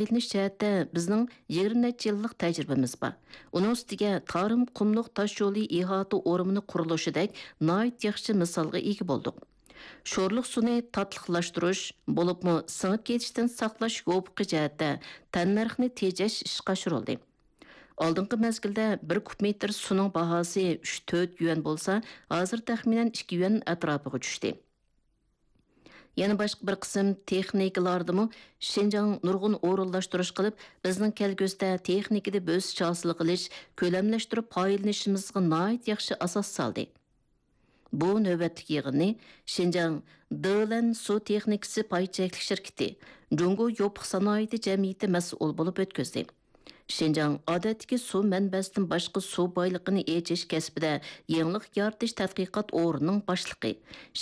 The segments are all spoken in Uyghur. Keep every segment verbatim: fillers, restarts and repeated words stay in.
پايدىلىنىش جەھەتتە بىزنىڭ يىگىرمە نەچچە يىللىق تەجرىبىمىز بار. ئۇنىڭ ئۈستىگە تارىم قۇملۇق تاش يولى ئىھاتە ئورمىنى قۇرۇلۇشىدەك ناھايىتى ياخشى مىسالغا ئىگە بولدۇق. شورلۇق سۇنى تاتلىقلاشتۇرۇش، بولۇپمۇ سىڭىپ كېتىشتىن ساقلاش يوپۇقى جەھەتتە تەننەرخنى تېجەش ئىشقا ئاشۇرۇلدى. ئالدىنقى مەزگىلدە بىر كۇب مېتىر سۇنىڭ باھاسى ئۈچ تۆت يۈەن بولسا، ھازىر تەخمىنەن ئىككى يۈەن ئەتراپىغا چۈشتى. يەنە باشقا بىر قىسىم تېخنىكىلاردىمۇ شىنجاڭ نۇرغۇن ئورۇنلاشتۇرۇش قىلىپ، بىزنىڭ كەلگۈسىدە تېخنىكىدا بۆسۈش ھاسىل قىلىش، كۆلەملەشتۈرۈپ پايدىلىنىشىمىزغا ناھايىتى ياخشى ئاساس سالدى. بۇ نۆۋەتلىك يىغىننى شىنجاڭ دېلەن سۇ تېخنىكىسى پاي چەكلىك شىركىتى، جۇڭگو يوپۇق سانائىتى جەمئىيىتى مەسئۇل بولۇپ ئۆتكۈزدى. شىنجاڭ ئادەتتىكى سۇ مەنبەسىدىن باشقا سۇ بايلىقىنى ئېچىش كەسپىدە يېڭىلىق يارىتىش تەتقىقات ئورنىنىڭ باشلىقى،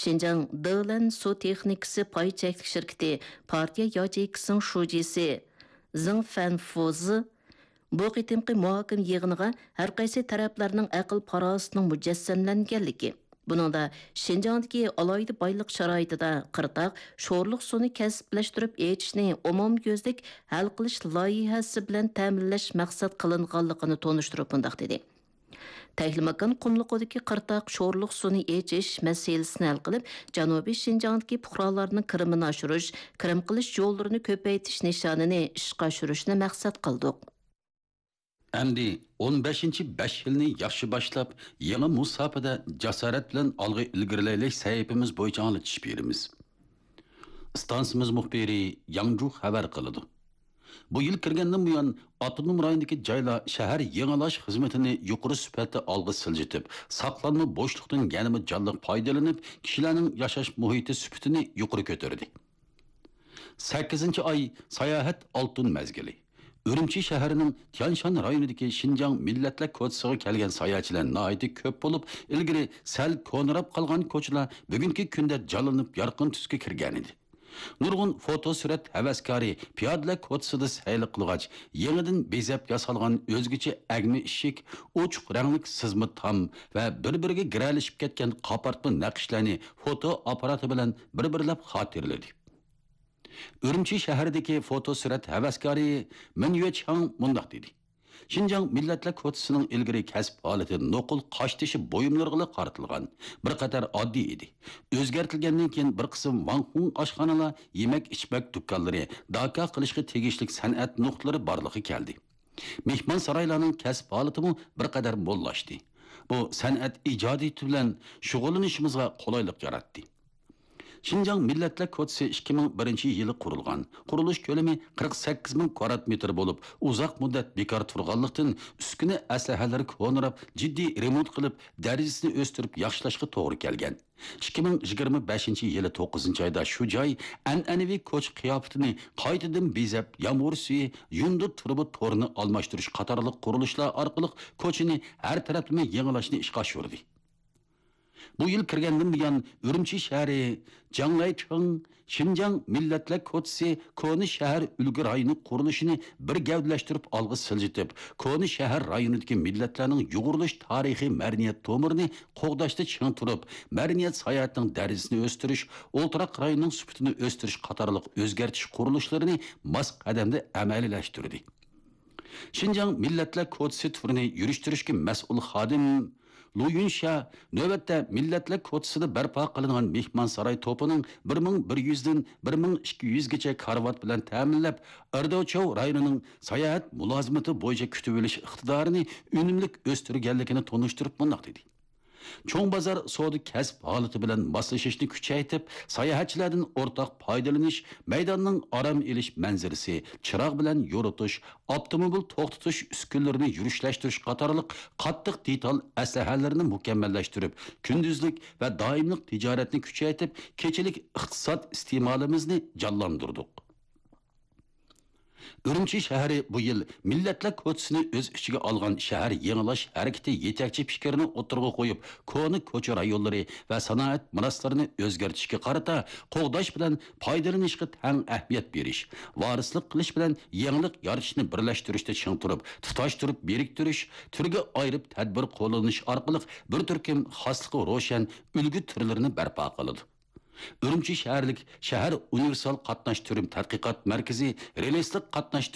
شىنجاڭ دېلەن سۇ تېخنىكىسى پاي چەكلىك شىركىتى پارتىيە ياچېيكىسىنىڭ شۇجىسى زېڭ فەنفۇزى بۇ قېتىمقى مۇھاكىمە يىغىنىغا ھەر قايسى تەرەپلەرنىڭ ئەقىل-پاراسىتىنىڭ مۇجەسسەملەنگەنلىكى، بۇنىڭدا شىنجاڭدىكى ئالاھىدە بايلىق شارائىتىدا قىرتاق شورلۇق سۇنى كەسىپلەشتۈرۈپ ئېچىشنى ئومۇميۈزلۈك ھەل قىلىش لايىھەسى بىلەن تەمىنلەش مەقسەت قىلىنغانلىقىنى تونۇشتۇرۇپ مۇنداق دېدى: تەكلىماكان قۇملۇقىدىكى قىرتاق شورلۇق سۇنى ئېچىش مەسىلىسىنى ھەل قىلىپ، جەنۇبىي شىنجاڭدىكى پۇقرالارنىڭ كىرىمىنى ئاشۇرۇش، كىرىم قىلىش يوللىرىنى كۆپەيتىش نىشانىنى ئىشقا ئاشۇرۇشنى مەقسەت قىلدۇق. ئەمدى ئون بەشىنچى بەش يىلنى ياخشى باشلاپ، يېڭى مۇساپىدە جاسارەت بىلەن ئالغا ئىلگىرىلەيلى سەھىپىمىز بويىچە ئاڭلىتىش بېرىمىز. ئىستانسىمىز مۇخبىرى ياڭجۇ خەۋەر قىلىدۇ. بۇ يىل كىرگەندىن بۇيان، ئاپتونوم رايوندىكى جايلار شەھەر يېڭىلاش خىزمىتىنى يۇقىرى سۈپەتتە ئالغا سىلجىتىپ، ساقلانما بوشلۇقتىن يەنىمۇ جانلىق پايدىلىنىپ، كىشىلەرنىڭ ياشاش مۇھىتى سۈپىتىنى يۇقىرى كۆتۈردى. سەككىزىنچى ئاي، ساياھەت ئالتۇن مەزگىلى. ئۈرۈمچى شەھىرىنىڭ تيانشان رايونىدىكى شىنجاڭ مىللەتلەر كوچىسىغا كەلگەن ساياھەتچىلەر ناھايىتى كۆپ بولۇپ، ئىلگىرى سەل كونىراپ قالغان كوچىلار بۈگۈنكى كۈندە جانلىنىپ، يارقىن تۈسكە كىرگەنىدى. نۇرغۇن فوتو سۈرەت ھەۋەسكارى پىيادىلەر كوچىسىدا سەيلە قىلغاچ، يېڭىدىن بېزەپ ياسالغان ئۆزگىچە ئەگمە ئىشىك، ئوچۇق رەڭلىك سىزما تام ۋە بىر-بىرىگە گىرەلىشىپ كەتكەن قاپارتما نەقىشلەرنى فوتو ئاپپاراتى بىلەن بىر-بىرلەپ خاتىرىلىدى. ئۈرۈمچى شەھىرىدىكى فوتو سۈرەت ھەۋەسكارى مىن يۈەچياڭ مۇنداق دېدى: شىنجاڭ مىللەتلەر كوچىسىنىڭ ئىلگىرى كەسىپ ھالىتى نوقۇل قاشتېشى بۇيۇملىرىغىلا قارىتىلغان، بىر قەدەر ئاددىي ئىدى. ئۆزگەرتىلگەندىن كېيىن بىر قىسىم ۋاڭخۇڭ ئاشخانىلار، يېمەك-ئىچمەك دۇكانلىرى، داكا قىلىشقا تېگىشلىك سەنئەت نۇقتىلىرى بارلىققا كەلدى. مېھمانسارايلارنىڭ كەسىپ ھالىتىمۇ بىر قەدەر موللاشتى. بۇ سەنئەت ئىجادىيىتى بىلەن شۇغۇللىنىشىمىزغا قولايلىق ياراتتى. شىنجاڭ مىللەتلەر كوچىسى ئىككى مىڭ بىرىنچى يىلى قۇرۇلغان. قۇرۇلۇش كۆلىمى قىرىق سەككىز مىڭ كۋادرات مېتىر بولۇپ، ئۇزاق مۇددەت بىكار تۇرغانلىقتىن، ئۈسكۈنە ئەسلىھەلىرى كونىراپ، جىددىي رېمونت قىلىپ، دەرىجىسىنى ئۆستۈرۈپ ياخشىلاشقا توغرا كەلگەن. ئىككى مىڭ يىگىرمە بەشىنچى يىلى توققۇزىنچى ئايدا شۇ جاي ئەنئەنىۋى كوچا قىياپىتىنى قايتىدىن بېزەپ، يامغۇر سۈيى، يۇندى تۇرۇبا تورىنى ئالماشتۇرۇش قاتارلىق قۇرۇلۇشلار ئارقىلىق كوچىنى ھەر تەرەپلىمە يېڭىلاشنى ئىشقا ئاشۇردى. بۇ يىل كىرگەندىن بۇيان، ئۈرۈمچى شەھىرى جاڭلەيچىڭ شىنجاڭ مىللەتلەر كوچىسى كونا شەھەر ئۈلگە رايونى قۇرۇلۇشىنى بىر گەۋدىلەشتۈرۈپ ئالغا سىلجىتىپ، كونا شەھەر رايونىدىكى مىللەتلەرنىڭ يۇغۇرۇلۇش تارىخىي مەدەنىيەت تومۇرىنى قوغداشتا چىڭ تۇرۇپ، مەدەنىيەت ساياھىتىنىڭ دەرىجىسىنى ئۆستۈرۈش، ئولتۇراق رايوننىڭ سۈپىتىنى ئۆستۈرۈش قاتارلىق ئۆزگەرتىش قۇرۇلۇشلىرىنى ماس قەدەمدە ئەمەلىيلەشتۈردى. شىنجاڭ مىللەتلەر كوچىسى تۈرىنى يۈرۈشتۈرۈشكە مەسئۇل خادىم لۇ يۈنشيا نۆۋەتتە مىللەتلەر كوچىسىدا بەرپا قىلىنغان مېھمانساراي توپىنىڭ بىر مىڭ بىر يۈزدىن بىر مىڭ ئىككى يۈزگىچە كارىۋات بىلەن تەمىنلەپ، ئېرداۋچاۋ رايونىنىڭ ساياھەت مۇلازىمىتى بويىچە كۈتۈۋېلىش ئىقتىدارىنى ئۈنۈملۈك ئۆستۈرگەنلىكىنى تونۇشتۇرۇپ مۇنداق دېدى: چوڭ بازار سودا كەسىپ ھالىتى بىلەن ماسلىشىشنى كۈچەيتىپ، ساياھەتچىلەردىن ئورتاق پايدىلىنىش، مەيداننىڭ ئارام ئېلىش مەنزىرىسى، چىراغ بىلەن يورۇتۇش، ئاپتوموبىل توختىتىش ئۈسكۈنىلىرىنى يۈرۈشلەشتۈرۈش قاتارلىق قاتتىق دېتال ئەسلىھەلىرىنى مۇكەممەللەشتۈرۈپ، كۈندۈزلۈك ۋە دائىملىق تىجارەتنى كۈچەيتىپ، كېچىلىك ئىقتىساد ئىستېمالىمىزنى جانلاندۇردۇق. ئۈرۈمچى شەھىرى بۇ يىل مىللەتلەر كوچىسىنى ئۆز ئىچىگە ئالغان شەھەر يېڭىلاش ھەرىكىتى يېتەكچى پىكرىنى ئوتتۇرىغا قويۇپ، كونا كوچا رايونلىرى ۋە سانائەت مىراسلىرىنى ئۆزگەرتىشكە قارىتا قوغداش بىلەن پايدىلىنىشقا تەڭ ئەھمىيەت بېرىش، ۋارىسلىق قىلىش بىلەن يېڭىلىق يارىتىشنى بىرلەشتۈرۈشتە چىڭ تۇرۇپ، تۇتاشتۇرۇپ بىرىكتۈرۈش، تۈرگە ئايرىپ تەدبىر قوللىنىش ئارقىلىق بىر تۈركۈم خاسلىقى روشەن ئۈلگە تۈرلىرىنى بەرپا قىلىدۇ. ئۈرۈمچى شەھەرلىك شەھەر ئۇنىۋېرسال قاتناش تۈرىم تەتقىقات مەركىزى رېلىسلىق قاتناش